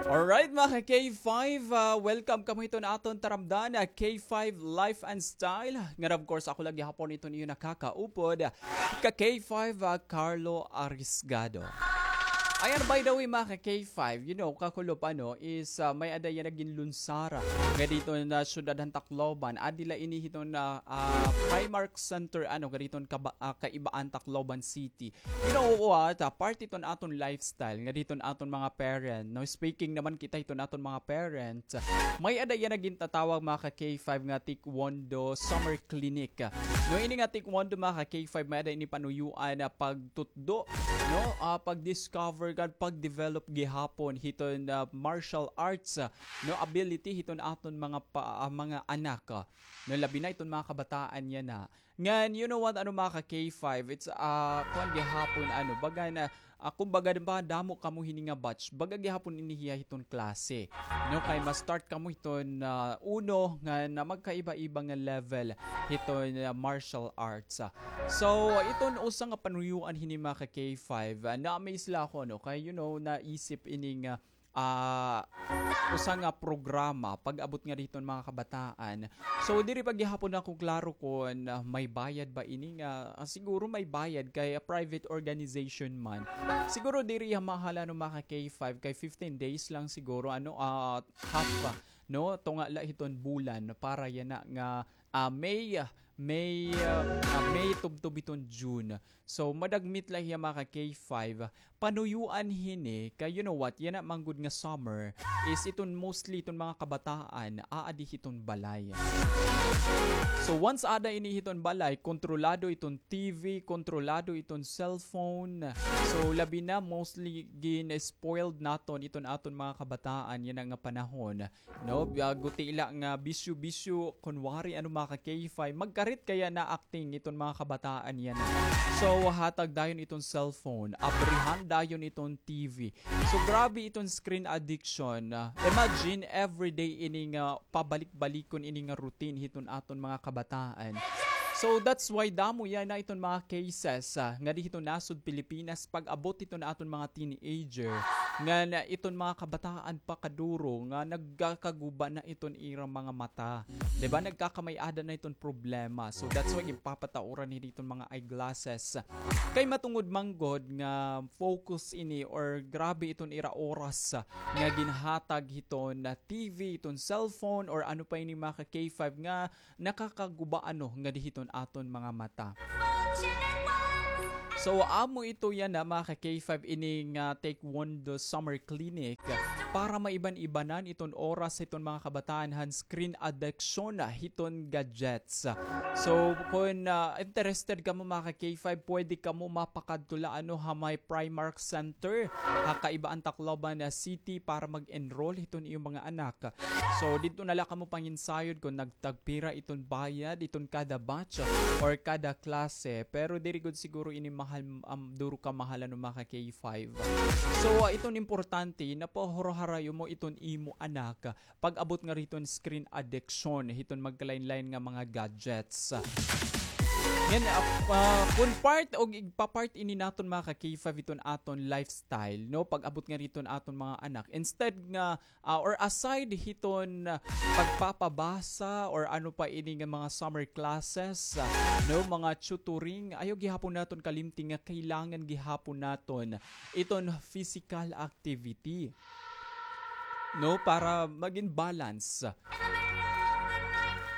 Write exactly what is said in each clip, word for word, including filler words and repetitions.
Alright, mga ka-K five, ah, welcome kamo hiton aton taramdan, ah, K five Life and Style. Ngan, of course, ako la gihapon iton iyo nakakaupod, ah, ka-K five, ah, Carlo Arisgado. Ayan, by the way, mga ka-K five, you know, kakulop, ano, is, ah, may-ada yana ginlunsara ngadi hiton, ah, syudad han Tacloban. Adi la ini hiton, ah, ah, Primark Center, ano, ngadi hiton kaba-, ah, Kaibaan, Tacloban City. You know what? Ah, part iton aton lifestyle, ngadi hiton aton mga parent, no? Speaking naman kita hiton aton mga parent, may-ada yana gintatawag, mga ka-K five, nga Taekwondo Summer Clinic. No, ini nga Taekwondo, mga ka-K five, may-ada ini panuyuan nga pagtutdo, no? Ah, pag-discover ngan pag-develop gihapon hiton, ah, martial arts, ah, no, ability hiton aton mga pa-, ah, mga anak, ah, no, labi na iton mga kabataan yana. Ngan, you know what, ano, mga ka-K five, it's, ah, kuan gihapon, ano, baga na, ah, kumbaga, ba, damo kamo hini nga batch, baga gihapon ini hiya hiton klase. No, kay ma-start kamo hiton, ah, uno nga na magkaiba-iba nga level hiton, ah, martial arts, ah. So, iton usa nga panuyuan hini, mga ka-K five, ah, na-amaze la ako, no, kay, you know, naisip ini nga ah, usa nga programa pag-abot ngadi hiton mga kabataan. So, diri pa gihapon ako klaro kon, ah, may bayad ba ini nga, ah, siguro may bayad kay, ah, private organization man. Siguro diri hiya mahal, ano, mga ka-K five, kay fifteen days lang siguro, ano, ah, half, ah, no, tunga la hiton bulan para yana nga, ah, May, ah, May, ah, ah, May tubtob hiton June. So, madagmit la hiya, mga ka-K five. Panuyuan hini, kay you know what, yana man gud nga summer is iton mostly iton mga kabataan aadi hiton balay. So, once aada ini hiton balay, kontrolado iton T V, kontrolado iton cellphone. So, labi na, mostly gin-spoiled naton iton aton mga kabataan yana nga panahon. No, ah, guti la nga bisyo-bisyo, kunwari, ano, mga ka-K five, magkarit kaya na acting iton mga kabataan yana. So, hatag dayon iton cellphone, abrihan dayon iton T V. So, grabe iton screen addiction. Ah, imagine, everyday ini nga pabalik-balikon ini nga routine hiton aton mga kabataan. So, that's why damo yana iton mga cases, ah, ngadi hiton nasod Pilipinas pag-abot hiton aton mga teenager, nga na iton mga kabataan pa kaduro nga nagkakaguba na iton ira mga mata. Di ba? Nagkakamay-ada na iton problema. So, that's why ginpapatauran hini iton mga eyeglasses. Kay matungod man gud nga focus ini or grabe iton ira oras nga ginhatag hiton T V, hiton cellphone, or ano pa ini, mga ka-K five, nga nakakaguba, ano, ngadi hiton aton mga mata. So, amo ito yana, mga ka-K five, ini nga Taekwondo Summer Clinic para maiban-ibanan iton oras hiton mga kabataan han screen addiction hiton gadgets. So, kon, ah, interested kamo, mga ka-K five, pwede kamo mapakadto la, ano, ha may Primark Center ha Kaibaan, Tacloban, ah, City para mag-enroll hiton iyo mga anak. So, didto na la kamo panginsayod kon nagtagpira iton bayad, iton kada batch or kada klase. Pero diri gud siguro ini mahal, um, duro kamahal, ano, mga ka-K five. So, ah, iton importante, napahuraharayo mo iton imo anak pag-abot ngadi hiton screen addiction, hiton magkalain-lain nga mga gadgets. Ngan, ah, ah, kon part o igpa-part ini naton, mga ka-K five, hiton aton lifestyle, no? Pag-abot ngadi hiton aton mga anak. Instead nga, ah, or aside hiton, ah, pagpapabasa or ano pa ini nga mga summer classes, ah, no, mga tutoring, ayaw gihapon naton kalimti nga kailangan gihapon naton iton physical activity, no, para magin balance.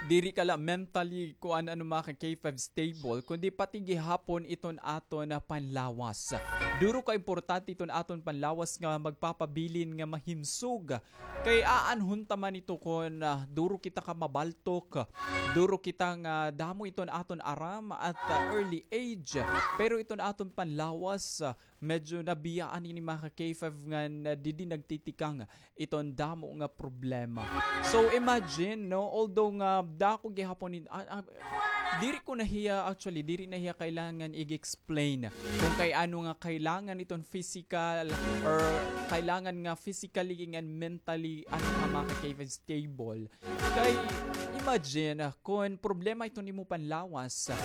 Diri ka la mentally, kuan, ano, mga ka-K five, stable, kundi pati gihapon iton aton panlawas. Duro ka importante iton aton panlawas nga magpapabilin nga mahimsog. Kay aanhon ta man ito kon, ah, duro kita ka mabaltok, duro kita nga damo iton aton aram at, ah, early age. Pero iton aton panlawas, ah, medyo nabiyaan ini, mga ka-K five, ngan didi nagtitikang iton damo nga problema. So, imagine, no, although nga dako gihapon in, ah, ah, diri ko na hiya, actually, diri na hiya kailangan i-explain kon kay ano nga kailangan iton physical or kailangan nga physically ngan mentally, ano, nga mga ka-K five, stable. Kay, imagine, ah, kon problema iton imo panlawas, ah,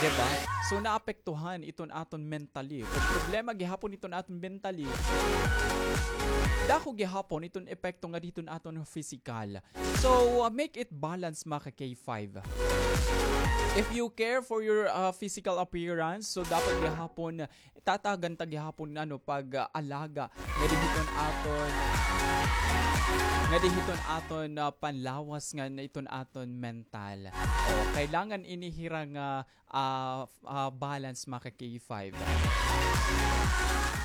di ba? So, naapektuhan iton aton mentally. Kon problema gihapon iton aton mentally, Dako gihapon iton epekto nga didto ha aton physical. So, uh, make it balance, mga ka K five. If you care for your, uh, physical appearance, so dapat gihapon tatagan ta gihapon, ano, pag, ah, alaga nga didto ha aton, nga didto ha aton, ah, panlawas ngan iton aton mental. O, kailangan ini hira nga, ah, f-, ah, balance, mga ka K five.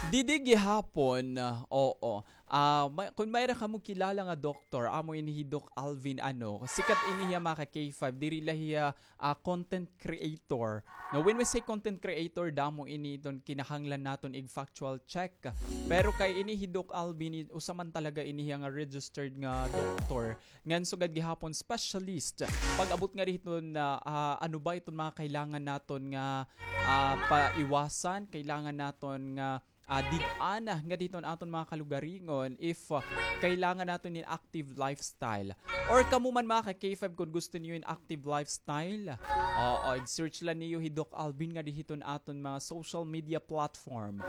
Didi gihapon, ah, oo. Ah, may, kon mayra kamo kilala nga doktor, amo ini hi Doc Alvin, ano, sikat ini hiya, mga ka K five, diri la hiya ah, content creator. Now, when we say content creator, damo ini iton kinahanglan naton ig-factual check. Pero kay ini hi Doc Alvin, i-, usa man talaga ini hiya nga registered nga doktor. Ngan sugad gihapon specialist. Pag-abot nga didto ha, ah, ano ba iton mga kailangan naton nga, ah, paiwasan, kailangan naton nga ah, did-an nga didto ha aton mga kalugaringon if, ah, kailangan naton hin active lifestyle. Or kamo man mga ka K five, kon gusto niyo hin active lifestyle, oo, i-search la niyo hi Doc Alvin nga didto ha aton mga social media platform.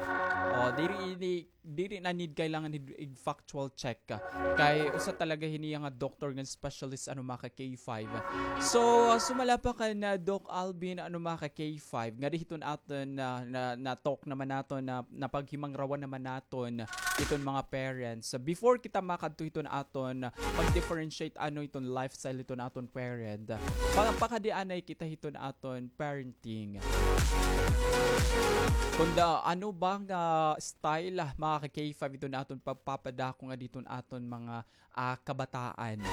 O, diri ini, diri na need kailangan hin ig-factual check. Kay usa talaga hini nga doktor ngan specialist, ano, mga ka K five. So, ah, sumala pa kan, ah, Doc Alvin, ano, mga ka K five, nga didto ha aton na, na, na-talk naman naton, na, napaghimangrawan naman naton iton mga parents. Before kita makadto hiton aton pag-differentiate, ano, iton lifestyle hiton aton parent, pa-, pakadi anay kita hiton aton parenting. Kunda, ano ba nga style, mga ka K five, iton aton pagpapadako nga didto ha aton mga ah, kabataan.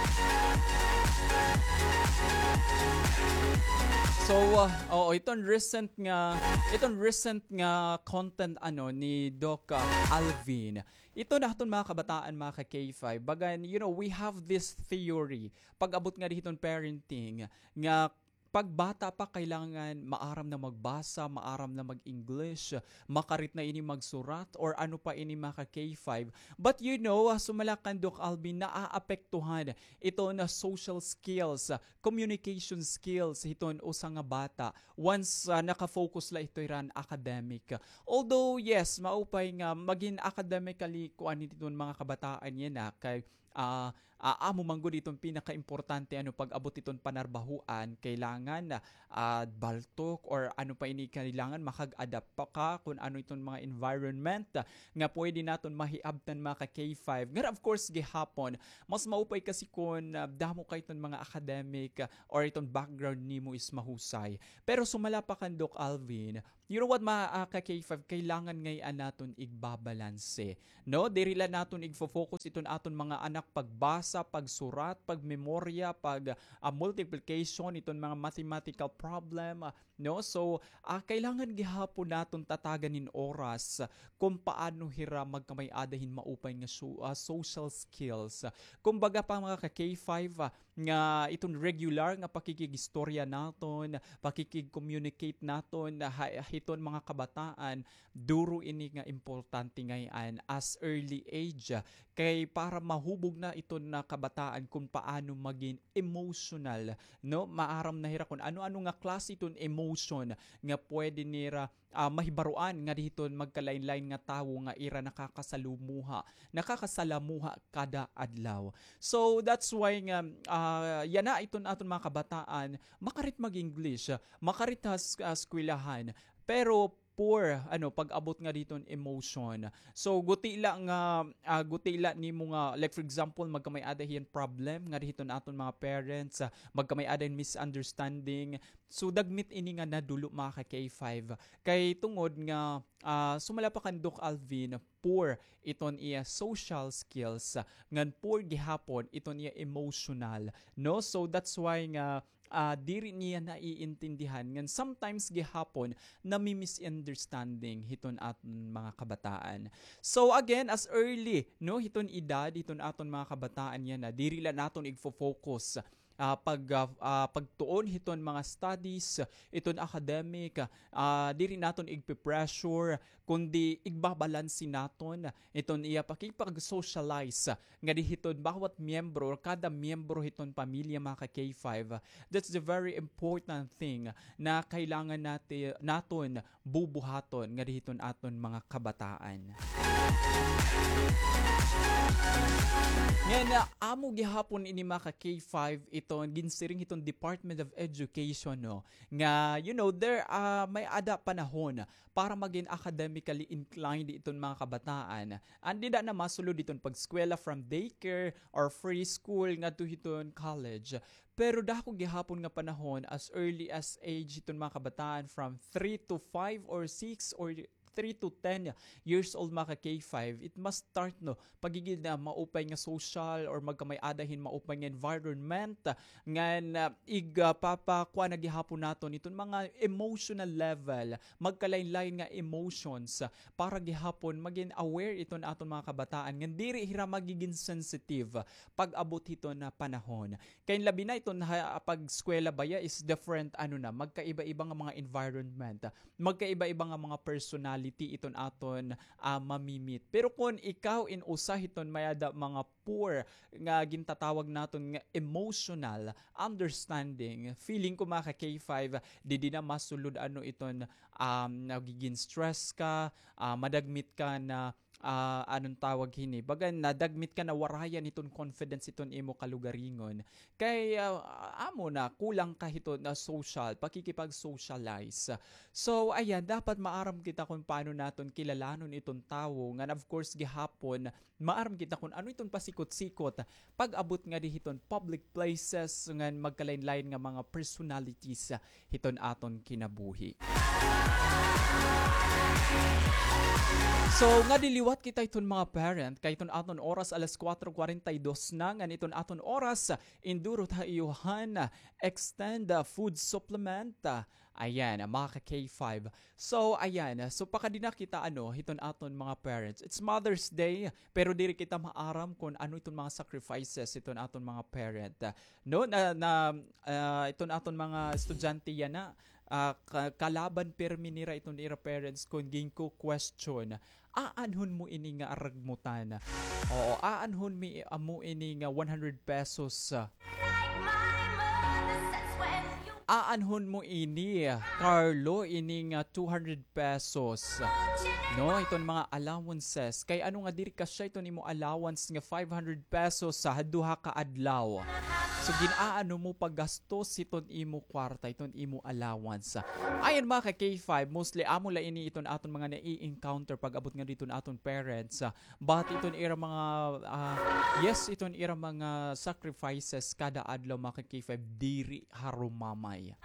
So, ah, oo, iton recent nga, iton recent nga content, ano, ni Doc, ah, Alvin. Iton aton mga kabataan, mga ka K five. Bagan, you know, we have this theory. Pag-abot nga didto ha parenting, nga pagbata pa, kailangan maaram na magbasa, maaram na mag-English, makarit na ini magsurat, or ano pa ini, mga ka K five. But you know, ah, sumala kan Doc Alvin, naaapektuhan iton social skills, ah, communication skills hiton usa nga bata once, ah, naka-focus la ito hira han academic. Although, yes, maupay nga magin academically kuan hiton mga kabataan yana, kay ah, ah, amo man gud iton pinakaimportante, ano, pag-abot iton panarbahoan, kailangan, ah, baltok or ano pa ini kailangan, makag-adapt pa ka kon ano iton mga environment, ah, nga pwede naton mahiabtan, mga ka K five. Ngan of course, gihapon, mas maupay kasi kon, ah, damo kay iton mga academic, ah, or iton background nimo is mahusay. Pero sumala pa kan Doc Alvin, you know what, mga, ah, ka K five, kailangan ngay-an naton igbabalanse, no? Diri la naton igfo-focus iton aton mga anak pagbasa, pagsurat, pagmemorya, pag, ah, multiplication, iton mga mathematical problem, ah, no? So, ah, kailangan gihapon naton tatagan hin oras kon paano hira magkamay-ada hin maupay nga so-, ah, social skills. Kumbaga pa, mga ka K five, ah, nga iton regular nga pakikig-istorya naton, pakikig-communicate naton ha, hiton mga kabataan, duro ini nga importante ngay-an as early age. Kay para mahubog na iton nga kabataan kon paano magin emotional, no? Maaram na hira kon ano-ano nga klase iton emotion nga pwede nira ah, mahibaroan nga didto ha magkalain-lain nga tawo nga ira nakakasalumuha, nakakasalamuha kada adlaw. So, that's why nga, ah, yana iton aton mga kabataan, makarit mag-English, makarit ha s-, ah, eskwelahan, pero poor, ano, pag-abot nga didto ha emotion. So, guti la nga, ah, guti la nimo nga, like, for example, magkamay-ada hin problem nga didto ha aton mga parents, ah, magkamay-ada hin misunderstanding, so, dagmit ini nga nadulo, mga ka K five. Kay tungod nga, ah, sumala pa kan Doc Alvin, poor iton iya social skills, ngan poor gihapon iton iya emotional, no? So, that's why nga, ah, diri niya naiintindihan, ngan sometimes gihapon nami-misunderstanding hiton aton mga kabataan. So, again, as early, no, hiton edad, hiton aton mga kabataan yana, diri la naton igfo-focus ah, pag, ah, ah, pagtuon hiton mga studies, iton academic, ah, diri naton igpe-pressure, kundi igbabalanse naton iton iya pakipag-socialize nga di hiton bawat miyembro or kada miyembro hiton pamilya, mga ka K five. That's the very important thing na kailangan nati-, naton bubuhaton nga di hiton aton mga kabataan. And, ah, amo gihapon ini, mga ka-K five, iton ginsiring hiton Department of Education, no, nga, you know, there, ah, may-ada panahon para magin academically inclined iton mga kabataan. And dida na masulod iton pag-eskwela from daycare or preschool ngadto hiton college. Pero dako gihapon nga panahon, as early as age hiton mga kabataan, from three to five or six or three to ten years old, mga ka-K five, it must start, no, pagigid na maupay nga social or magkamay-ada hin maupay nga environment, ngan, ah, ig, ah, papakuan na gihapon naton iton mga emotional level, magkalain-lain nga emotions, para gihapon magin aware iton aton mga kabataan ngan diri hira magigin sensitive pag-abot hiton, ah, panahon. Kay labi na iton ha, pag-eskwela baya is different, ano na, magkaiba-iba nga mga environment, magkaiba-iba nga mga personality iton aton, ah, mamimit. Pero kon ikaw in usa hiton may-ada mga poor nga gintatawag naton nga emotional understanding, feeling ko, mga ka-K five, didi na masulod ano iton, um, nagigin stress ka, ah, madagmit ka na, ah, anon tawag hini? Baga nadagmit ka, nawarayan hiton confidence hiton imo kalugaringon. Kay, ah, amo na, kulang ka hiton, ah, social, pakikipag-socialize. So, ayan, dapat maaram kita kon paano naton kilalanon iton tawo. Ngan, of course, gihapon, maaram kita kon ano iton pasikot-sikot pag-abot ngadi hiton public places ngan magkalain-lain nga mga personalities hiton aton kinabuhi. So, ngadi liwat kita iton mga parent, kay iton aton oras alas kuwatro kuwarenta y dos na, ngan iton aton oras, induro ta iyo han extend, ah, food supplement, ah, ayan, ah, mga ka-K five. So, ayan, ah, so pakadi na kita, ano, hiton aton mga parents. It's Mother's Day, pero diri kita maaram kon ano iton mga sacrifices hiton aton mga parent. Ah, no, na, na, ah, iton aton mga estudyante yana, ah, ka-, kalaban pirmi nira iton ira parents kon ginko-question, aanhon mo ini nga aragmutan? Oo, aanhon mi, amo ini nga one hundred pesos? Aanhon mo ini, Carlo, ini nga two hundred pesos? No, iton mga allowances. Kay ano nga diri kasya iton imo allowance nga five hundred pesos ha duha ka adlaw? So, gin-aano mo paggastos hiton imo kwarta, iton imo allowance? Ayan, mga ka-K five, mostly amo la ini iton aton mga nai-encounter pag-abot ngadi hiton aton parents. But iton ira mga, ah, yes, iton ira mga sacrifices kada adlaw, mga ka-K five, diri harumamay.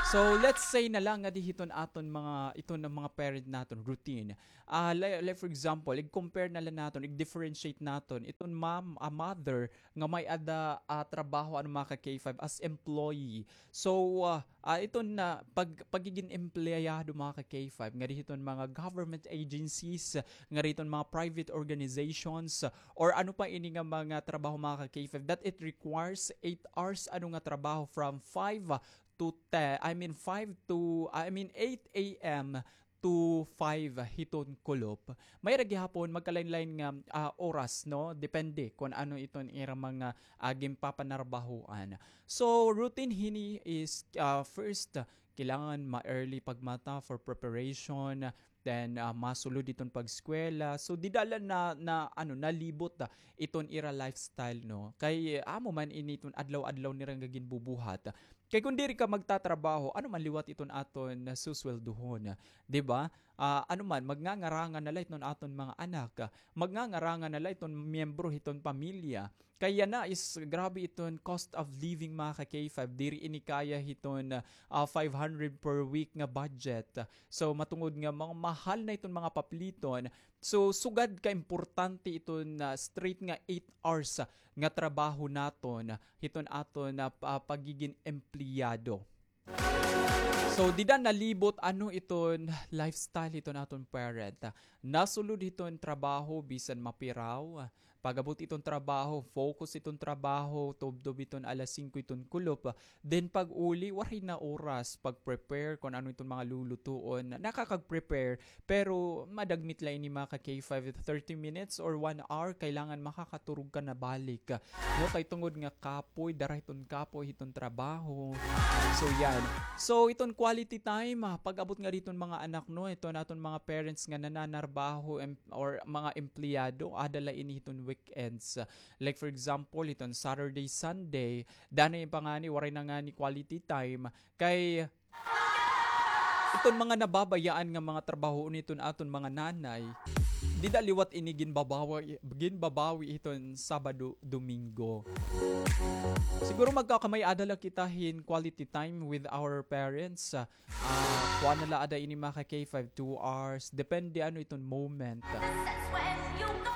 So, let's say na la ngadi hiton aton mga, iton mga parent naton routine. Ah, like, like, for example, ig-compare na la naton, ig-differentiate naton iton mom, a mother nga may-ada, ah, trabaho, ano, mga ka-K five, as employee. So, ah, ah, iton na pag-, pagigin empleyado, mga ka-K five, ngadi hiton mga government agencies, ngadi hiton mga private organizations, or ano pa ini nga mga trabaho, mga ka-K five, that it requires eight hours, ano, nga trabaho, from five to ten, I mean, five to, I mean, eight A M to five hiton kulop. May-ada gihapon magkalain-lain nga, ah, oras, no? Depende kon ano iton ira mga, ah, ginpapanarbahoan. So, routine hini is, ah, first, kailangan ma-early pagmata for preparation, then, ah, masulod iton pag-eskwela. So, dida la na, na, ano, nalibot, ah, iton ira lifestyle, no? Kay, ah, amo man ini iton adlaw-adlaw nira nga ginbubuhat. Kay kon diri ka magtatrabaho, ano man liwat iton aton susweldohon, di ba? Ah, ano man, magngangarangan na la iton aton mga anak, magngangarangan na la iton miyembro hiton pamilya. Kay yana is grabe iton cost of living, mga ka-K five. Diri ini kaya hiton, ah, five hundred per week nga budget. So, matungod nga mga mahal na iton mga papliton, so, sugad ka importante iton, ah, straight nga eight hours, ah, nga trabaho naton, ah, hiton aton, ah, pa-, pagigin empleyado. So, dida nalibot ano iton lifestyle hiton aton parent. Nasulod hiton trabaho, bisan mapiraw. Pag-abot iton trabaho, focus iton trabaho, tubtob iton alas singko iton kulop. Then, pag-uli, waray na oras pag-prepare kon ano iton mga lulutuon. Nakakag-prepare, pero madagmit la ini, mga ka-K five, thirty minutes or one hour, kailangan makakaturog ka na balik. No, kay tungod nga kapoy, dara hiton kapoy hiton trabaho. So, yan. So, iton Quality time, ah, pag-abot nga diton mga anak, no, iton aton mga parents nga nananarbaho em-, or mga empleyado, ada la ini hiton weekends. Like for example, iton Saturday, Sunday, danay pa ngani, waray na ngani quality time. Kay iton mga nababayaan nga mga trabahoon hiton aton mga nanay, dida liwat ini ginbabawi, ginbabawi hiton Sabado, Domingo. Siguro magkakamay-ada la kita hin quality time with our parents. Ah, kuan na la ada ini mga ka-K five, two hours. Depende ano iton moment.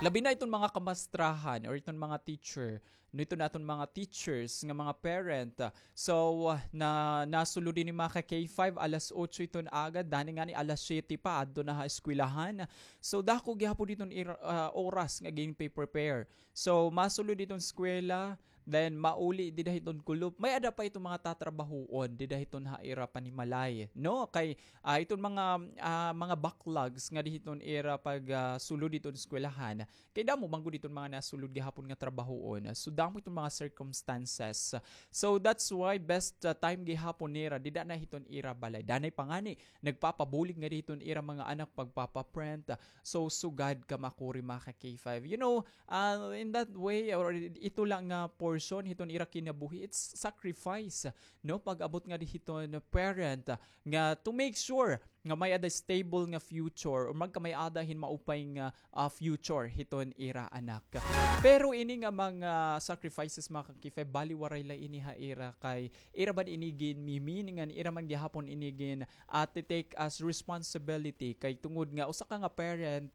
Labi na iton mga kamastrahan or iton mga teacher, no, iton aton mga teachers nga mga parent. So, ah, na, nasulod ini mga ka-K five, alas otso iton aga, danay ngani alas siyete pa, adto na ha eskwelahan. So, dako gihapon iton ir-, ah, oras nga ginpe-prepare. So, masulod iton eskwela, then mauli dida hiton kulop. May-ada pa iton mga tatrabahoon dida hiton ha ira panimalay, no? Kay, ah, iton mga, ah, mga backlogs nga dida hiton ira pag, ah, sulod hiton eskwelahan. Kay damo man gud iton mga nasulod gihapon nga trabahoon. So, damo iton mga circumstances. So, that's why best, ah, time gihapon nira dida na hiton ira balay. Danay pa ngani nagpapabulig nga dida hiton ira mga anak pagpapaprint. So, sugad ka makuri mga ka-K five. You know, ah, in that way, or ito la nga portion hiton ira kinabuhi, it's sacrifice, no? Pag-abot nga dida hiton parent, ah, nga to make sure nga may-ada stable nga future or magkamay-ada hin maupay nga, ah, future hiton ira anak. Pero ini nga mga sacrifices mga ka-K five, bali waray la ini ha ira kay ira man ini ginmiminingan, ira man gihapon ini gin, ah, ti-take as responsibility. Kay tungod nga usa ka nga parent,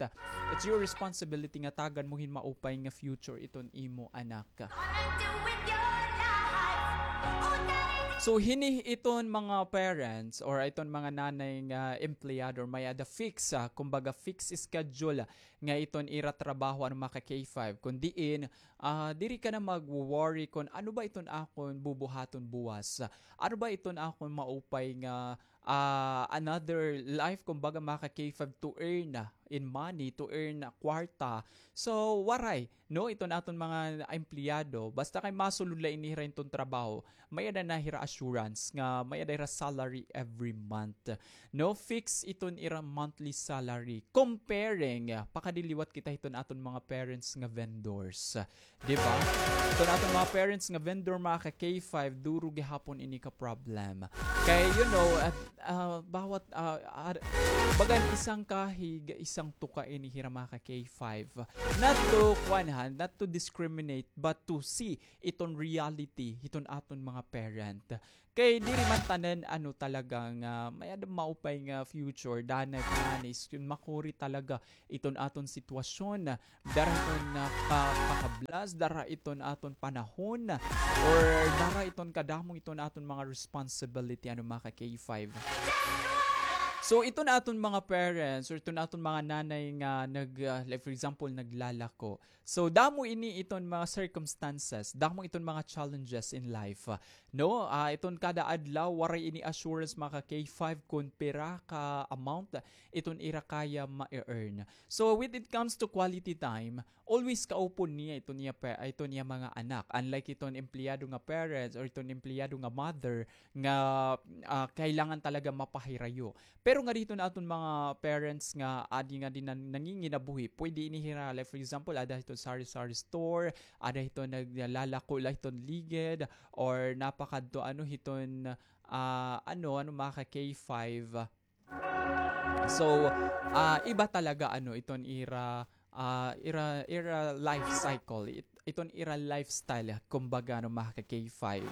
it's your responsibility nga tagan mo hin maupay nga future iton imo anak. So, hini iton mga parents or iton mga nanay nga empleyado or may-ada fix, ah, kumbaga fix schedule nga iton ira trabaho, ano, mga ka-K five. Kun diin, ah, diri ka na mag-worry kun ano ba iton akon bubuhaton buwas. Ano ba iton akon maupay nga, ah, another life, kumbaga, mga ka-K five, to earn in money, to earn kwarta. So, waray, no, iton aton mga empleyado, basta kay masulod la ini hira iton trabaho, may-ada na hira assurance nga may-ada hira salary every month. No, fix iton ira monthly salary. Comparing, pakadiliwat kita hiton aton mga parents nga vendors. Di ba? Iton aton mga parents nga vendor, mga ka-K five, duro gihapon ini ka problem. Kay, you know, at, ah, bawat, ah, ar-, bagan isang kahig, isang tuka ini hira mga ka-K five. Not to, kuan ha, not to discriminate, but to see iton reality, hiton aton mga parent. Kay diri man tanan, ano, talaga nga may-ada maupay nga future, danay pa ngani, makuri talaga iton aton sitwasyon. Dara iton, ah, pa-, pakablas, dara iton aton panahon, or dara iton kadamo iton aton mga responsibility, ano, mga ka-K five. So, iton aton mga parents, or iton aton mga nanay nga nag-, ah, like, for example, naglalako. So, damo ini iton mga circumstances, damo iton mga challenges in life. No, ah, iton kada adlaw, waray ini assurance, mga ka-K five, kun pira ka amount iton ira kaya ma-earn. So, when it comes to quality time, always kaupon niya iton iya pa-, iton iya mga anak. Unlike iton empleyado nga parents or iton empleyado nga mother nga, ah, kailangan talaga mapahirayo. Pero ngadi hiton aton mga parents nga adi nga din nan-, nanginginabuhi, pwede ini hira, like, for example, ada hiton sari-sari store, ada hiton naglalako la hiton ligid, or napakadto, ano, hiton, ah, ano, ano, mga ka-K five. So, ah, iba talaga, ano, iton ira, ah, ira, ira life cycle, it-, iton ira lifestyle, kumbaga, no, mga ka-K five.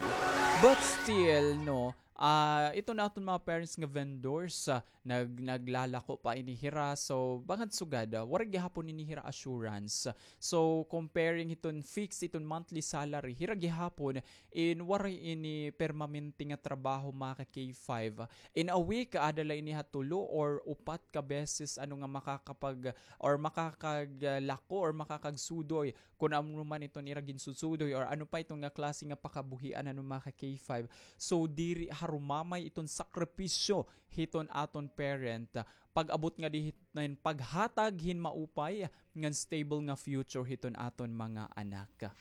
But still, no, ah, iton aton mga parents nga vendors, ah, nag-, naglalako pa ini hira. So, bangod sugad, ah, waray gihapon ini hira assurance. So, comparing hiton fixed, iton monthly salary, hira gihapon, in waray ini permanente nga trabaho, mga ka-K five. In a week, ada la ini ha tulo or upat ka beses, ano, nga makakapag-, or makakaglako or makakagsudoy kun ano man iton ira ginsusudoy or ano pa iton nga klase nga pakabuhian, ano, mga ka-K five. So, diri harumamay iton sakripisyo hiton aton parent. Pag-abot nga dida hiton paghatag hin maupay ngan stable nga future hiton aton mga anak.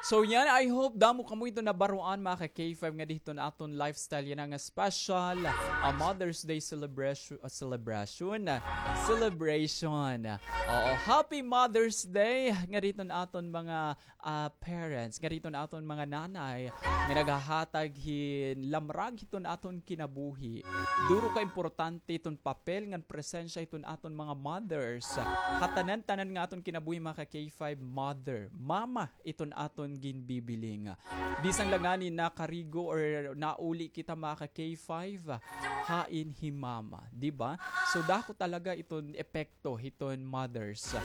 So yan, I hope damo kamo iton nabaruan, mga ka-K five, nga didto ha aton lifestyle yana nga special, ah, Mother's Day celebration, ah, celebration, ah, celebration. Oo, happy Mother's Day nga didto ha aton mga, ah, parents, nga didto ha aton mga nanay nga naghahatag hin lamrag hiton aton kinabuhi. Duro ka importante iton papel ngan presensya hiton aton mga mothers ha tanan-tanan nga aton kinabuhi, mga ka-K five, mother, mama, iton aton ginbibiling. Bisan la ngani nakarigo or nauli kita, mga ka-K five, hain hi mama, di ba? So, dako talaga iton epekto hiton mothers.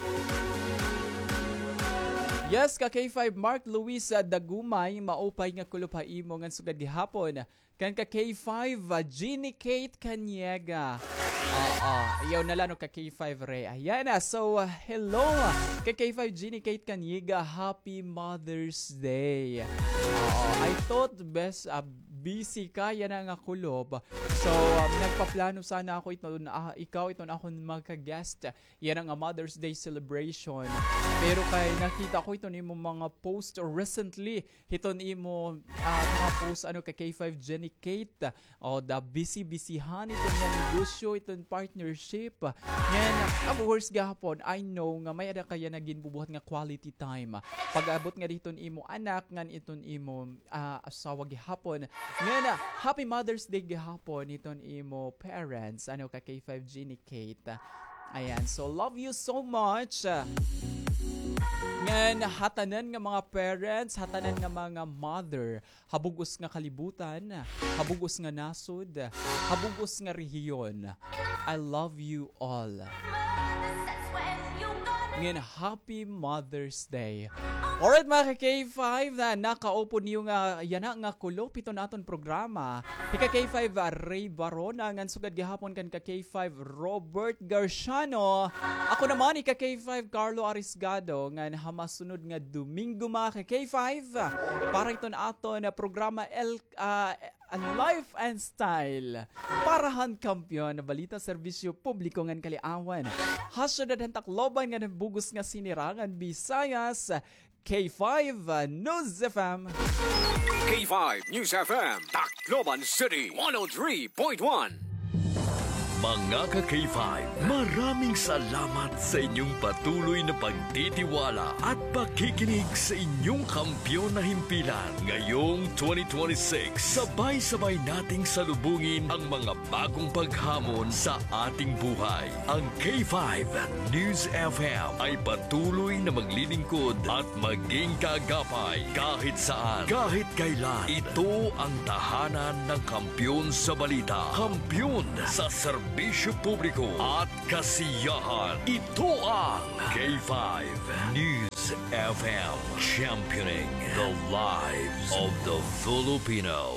Yes, ka-K five, Mark Luis, ah, Dagumay, maupay nga kulop ha imo ngan sugad gihapon kan ka-K five, ah, Jeannie Kate Caniega. Oo, ayaw na la, no, ka-K five Ray. Ayan na. So, ah, hello, ah, ka-K five Jeannie Kate Caniega. Happy Mother's Day. Oo, I thought bes, ah, busy ka yana nga kulop. So, ah, nagpaplano sana ako iton, ah, ikaw iton akon magka-guest yana nga Mother's Day celebration. Pero kay nakita ko iton imo mga post recently, hiton imo, ah, mga post, ano, ka-K five Jeannie Kate, o, da busy-busyhan iton nga negosyo, iton partnership. Ngan, of course, gihapon, I know nga may-ada ka yana ginbubuhat nga quality time. Pag-abot ngadi hiton imo anak, ngan iton imo, ah, asawa gihapon. Ngan, ah, happy Mother's Day gihapon hiton imo parents, ano, ka-K five Jeannie Kate. Ayan, so love you so much. Ngan ha tanan nga mga parents, ha tanan nga mga mother, ha bug-os nga kalibutan, ha bug-os nga nasod, ha bug-os nga rehiyon, I love you all. Ngan happy Mother's Day. Alright, mga ka-K five, na nakaupod niyo nga yana nga kulop hiton aton programa. Hi ka-K five, ah, Ray Barona, ngan sugad gihapon kan ka-K five, Robert Garciano. Ako naman, hi ka-K five, Carlo Arisgado, ngan ha masunod nga Domingo, mga ka-K five, para hiton aton, ah, programa El, ah, Life and Style. Para han kampiyon, balita, serbisyo publiko ngan kaliawan ha syudad han Tacloban ngan han bug-os nga sinirangan Visayas, K five News F M. K five News F M, Tacloban City, one oh three point one. Mga ka-K five, maraming salamat sa inyong patuloy na pagtitiwala at pakikinig sa inyong kampiyon na himpilan. Ngayong twenty twenty-six, sabay-sabay nating salubungin ang mga bagong paghamon sa ating buhay. Ang K five News F M ay patuloy na maglilingkod at maging kaagapay kahit saan, kahit kailan. Ito ang tahanan ng kampiyon sa balita, kampiyon sa serbisyo publiko at kasiyahan. Ito ang K five News F M, championing the lives of the Filipino.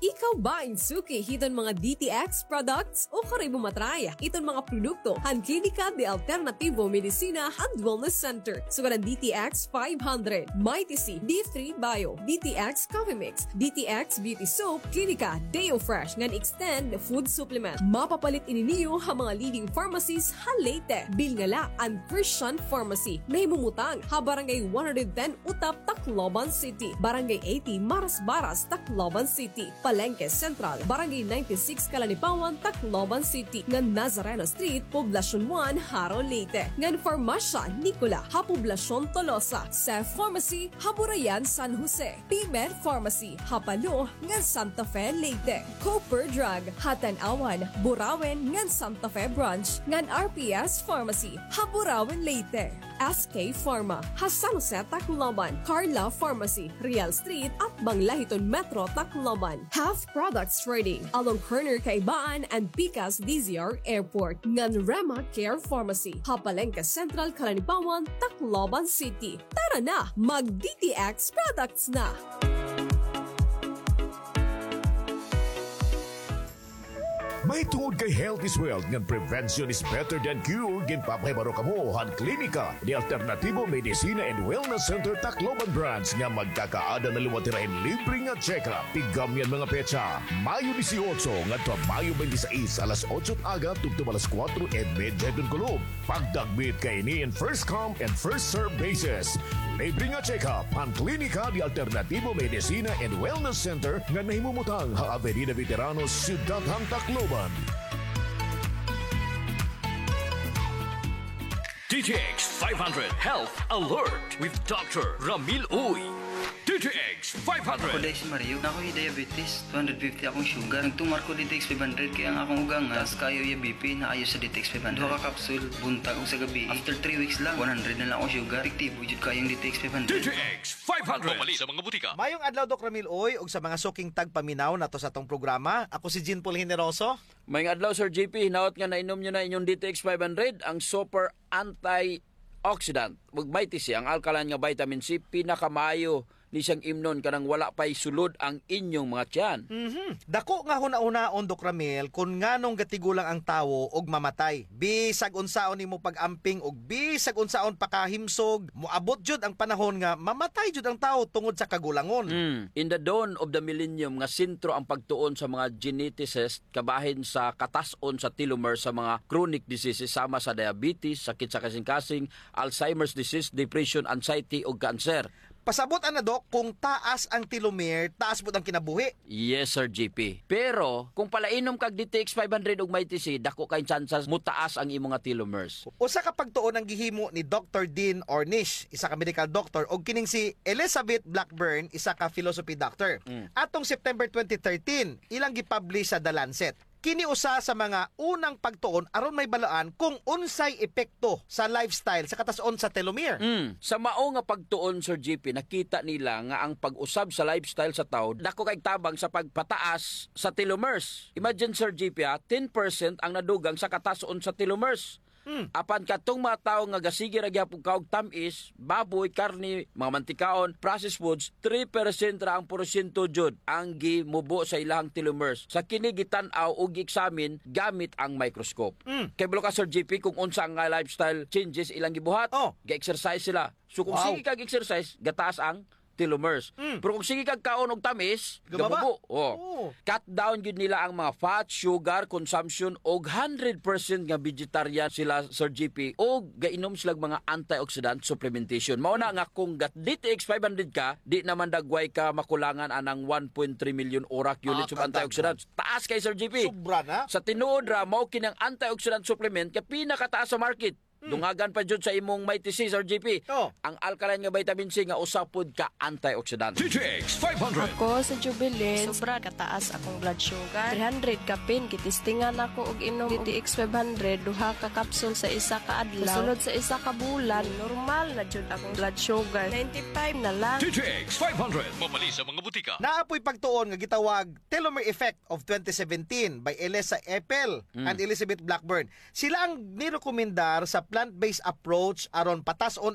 Ikaw ba in suki hiton mga D T X products? Ukon imo ma-try iton mga produkto han Klinika de Alternativo Medicina and Wellness Center. Sugad an D T X five hundred, Mighty C, D three Bio, D T X Coffee Mix, D T X Beauty Soap, Klinika Deo Fresh ngan Extend Food Supplement. Mapapalit ini niyo ha mga leading pharmacies ha Leyte. Bilngala an Christian Pharmacy, nahimumutang ha Barangay one hundred ten Utap, Tacloban City, Barangay eighty Marasbaras, Tacloban City, Palengke Central, Barangay ninety-six Calanipawan, Tacloban City, ngan Nazareno Street, Poblacion one, Jaro, Leyte, ngan Farmasya Nicola ha Poblacion Tolosa, Cef Pharmacy ha Burayan, San Jose, Pimer Pharmacy ha Palo ngan Santa Fe, Leyte, Cooper Drug ha Tanauan, Burauen ngan Santa Fe Branch, ngan R P S Pharmacy ha Burauen, Leyte. S K Pharma ha San Jose, Tacloban, Carla Pharmacy, Real Street, atbang la hiton Metro Tacloban, Half Products Trading along corner Kaibaan and Pikas D Z R Airport, ngan Rema Care Pharmacy ha Palengke Central, Calanipawan, Tacloban City. Tara na, mag D T X products na! Mahitungod kay health is wealth ngan prevention is better than cure, ginpapahibaro kamo han Klinika de Alternativo Medicina and Wellness Center Tacloban Branch nga magkakaada na liwat hira hin libre nga check-up. Tigam niyan mga petsa, Mayo dieciocho ngadto ha Mayo twenty-six, alas otso aga tubtob alas kuwatro y medya hiton kulop. Pagdagmit kay ini in first come and first serve basis. Libre nga check-up han Klinika de Alternativo Medicina and Wellness Center nga nahimumutang ha Avenida Veteranos, Siyudad han Tacloban. D T X five hundred Health Alert with Doctor Ramil Uy. D T X five hundred. Ako, Dais Mario, naa ko hi diabetes, two hundred fifty akong sugar. Nagtumar ko D T X five hundred kay ang akong ugangan, taas kaayo iya B P, naayo sa D T X five hundred. Duha ka kapsul, buntag ug sa gabii. After three weeks lang, one hundred na lang akong sugar. Epektibo jud kaayo ang D T X five hundred. D T X five hundred. Mamalit sa mga butika. Mayong adlaw, Doc Ramil Uy, ug sa mga suking tagpaminaw nato sa atong programa. Ako si Jean Paul Generoso. Mayong adlaw, Sir J P. Hinaot nga nainom niyo na inyong D T X five hundred, ang super antioxidant. Ug Mighty C, ang alkaline nga vitamin C, pinakamaayo ni siyang imnon kanang wala pa'y sulod ang inyong mga tiyan. Mhm. Dako nga hunahunaon, Doc Ramil, kun nganong gatigulang ang tawo og mamatay. Bisag unsaon nimo pag-amping ug bisag unsaon pakahimsog, moabot jud ang panahon nga mamatay jud ang tawo tungod sa kagulangon. Mm. In the dawn of the millennium nga sentro ang pagtuon sa mga geneticist, kabahin sa katas-on sa telomere sa mga chronic diseases sama sa diabetes, sakit sa kasingkasing, Alzheimer's disease, depression, anxiety, ug cancer. Pasabot ana, Doc, kung taas ang telomere, taas pud ang kinabuhi. Yes, Sir J P. Pero kung palainom kag D T X five hundred ug Mighty C, dako kay tsansas mutaas ang imo nga telomeres. Usa ka pagtuon ang gihimo ni Doctor Dean Ornish, isa ka medical doctor, ug kining si Elizabeth Blackburn, isa ka philosophy doctor. Mm. Atong September twenty thirteen, ilang gipublish sa The Lancet. Kini usa sa mga unang pagtuon aron mahibaluan kung unsay epekto sa lifestyle sa katas-on sa telomere. Mm. Sa mao nga pagtuon, Sir J P, nakita nila nga ang pag-usab sa lifestyle sa tawo dako kay tabang sa pagpataas sa telomeres. Imagine, Sir J P, ha, ten percent ang nadugang sa katas-on sa telomeres. Hmm. Apan katong mga tawo nga gasige ra gihapon kaon og tam-is, baboy, karne, mga mantikaon, processed foods, three percent ra ang porsyento jud ang gimubo sa ilahang telomeres. Sa kini gitan-aw ug gi-examine gamit ang microscope. Hmm. Kay balo ka, Sir J P, kung unsa nga lifestyle changes ilang gibuhat. Oh. Ga-exercise sila. So kung Wow. sige kag exercise, gataas ang telomeres. Mm. Pero kung sige kag kaon og tamis, Gababa. gamubo. Oh. Oo. Cut down gyud nila ang mga fat, sugar consumption, og hundred percent nga vegetarian sila, Sir J P, og gainom sila mga antioxidant supplementation. Mao na nga kung gat D T X five hundred ka, di naman dagway ka makulangan anang one point three million orak units Ah, of antioxidants. Taas kay, Sir J P. Sobra na. Sa tinuod ra, mao kini ang antioxidant supplement nga pinakataas sa market. Hmm. Dungagan pa jud sa imong Mighty C, Sir J P. Oh. Ang alkaline nga vitamin C nga usa pod ka antioxidant. D T X five hundred. Ako si Jubilin. Sobra kataas akong blood sugar. Three hundred kapin, gitistingan ako og inom D T X five hundred, duha ka kapsul sa isa ka adlaw. Sa sulod sa isa ka bulan, normal na jud akong blood sugar. Ninety-five na lang. D T X five hundred. Mamalit sa mga butika. Naa poy pagtuon nga gitawag telomere effect of twenty seventeen by Elisa Epel Mm. and Elizabeth Blackburn. Sila ang nirekomendar sa plant-based approach aron patas-on